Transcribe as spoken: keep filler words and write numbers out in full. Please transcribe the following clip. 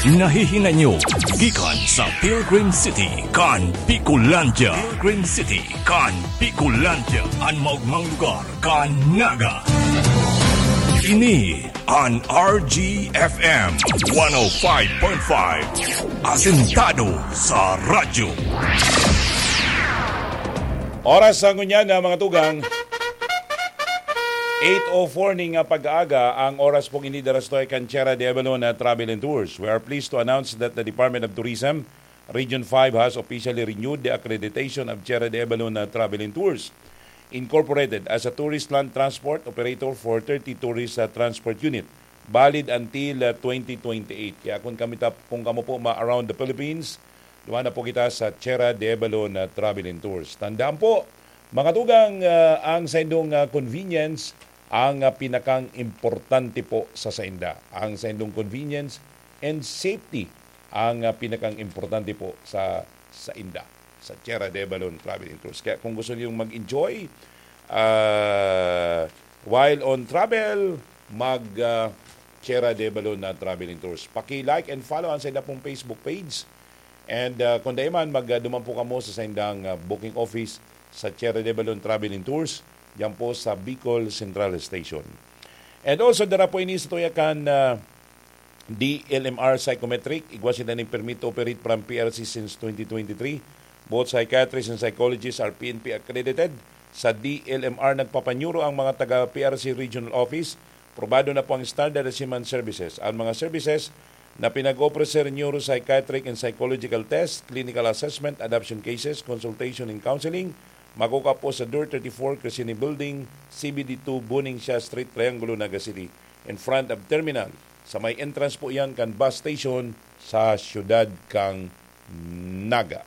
Nahihinay nyo gikan sa Pilgrim City kan Bicolandia. Pilgrim City kan Bicolandia, an maogmang lugar kan Naga. Ini an R G F M one oh five point five, asentado sa radyo. Oras sa ngunyan na mga tugang, eight oh four ning, ah, pag-aaga, ang oras pong ini darastoy kan Tierra de Avalon na Travel and Tours. We are pleased to announce that the Department of Tourism, Region five has officially renewed the accreditation of Tierra de Avalon na Travel and Tours Incorporated as a tourist land transport operator for thirty tourist, ah, transport unit, valid until, ah, twenty twenty-eight. Kaya kung kami ta-, kung kamo po ma-around the Philippines, duman na po kita sa Tierra de Avalon na Travel and Tours. Tandaan po, mga tugang, ah, ang saindong, ah, convenience ang, ah, pinakang importante po sa sainda. Ang saindong convenience and safety ang, ah, pinakang importante po sa sainda, sa Tierra de Avalon Travel and Tours. Kaya kung gusto niyong mag-enjoy, ah, while on travel, mag, ah, Tierra de Avalon na Travel and Tours. Paki-like and follow ang sainda pong Facebook page. And, ah, kung dai man, mag, ah, duman po kamo sa saindang, ah, booking office sa Tierra de Avalon Travel and Tours, diyan po sa Bicol Central Station. And also, dara po ini sa tuya kan, ah, D L M R Psychometric. Igwa sinda nin permit to operate from P R C since twenty twenty-three. Both psychiatrists and psychologists are P N P accredited. Sa D L M R, nagpapanyuro ang mga taga P R C Regional Office. Probado na po ang standard at human services. Ang mga services na pinag-offer, neuropsychiatric and psychological test, clinical assessment, adoption cases, consultation and counseling, makukuha po sa Door thirty-four, Crescini Building, C B D two, Buning Siya Street, Triangulo, Naga City, in front of terminal. Sa may entrance po yan kan bus station sa siyudad kang Naga.